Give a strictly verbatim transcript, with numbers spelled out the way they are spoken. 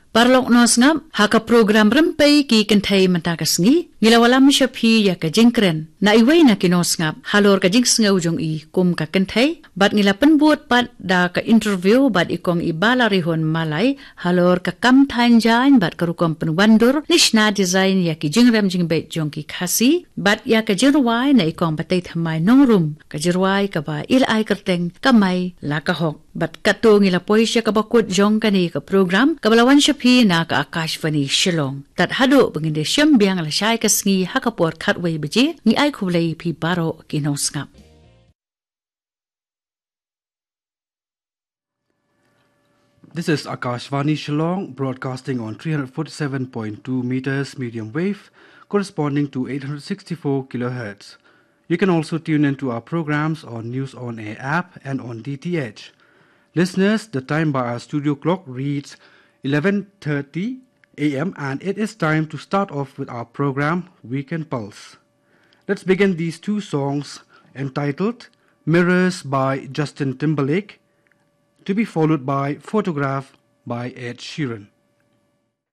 Paralok nongsngap, ha ka program Rympei ki Kynthei mynta ka sngi, ngi la wallam sha phi ïa ka jingkren na iwei na ki nongsngap halor ka jingsngew jong i kum ka kynthei, bad ngi la pynbud pat da ka interview bad i Kong Ibalarihun Malai halor ka kam thaiñ jaiñ bad ka rukom pynwandur ne shna design ïa ki jingrem jingbeit jong ki Khasi, bad ïa ka jingrwai na i Kong Bateithymmai Nongrum, ka jingrwai kaba i la ai kyrteng Ka Mai La Ka Hok. Bad katto ngi la poi sha kaba kut jong kane ka program kaba la wan sha phi na ka Akashvani Shillong. Tad haduh ba ngin da shim biang lashai ka sngi ha ka por khatwei baje, ngi ai khublei phi baroh ki nongsngap. This is Akashvani Shillong, broadcasting on three hundred forty-seven point two meters medium wave, corresponding to eight hundred sixty-four kilohertz. You can also tune in to our programs on News on Air app and on D T H. Listeners, the time by our studio clock reads eleven thirty a m, and it is time to start off with our program, Weekend Pulse. Let's begin these two songs, entitled Mirrors by Justin Timberlake, to be followed by Photograph by Ed Sheeran.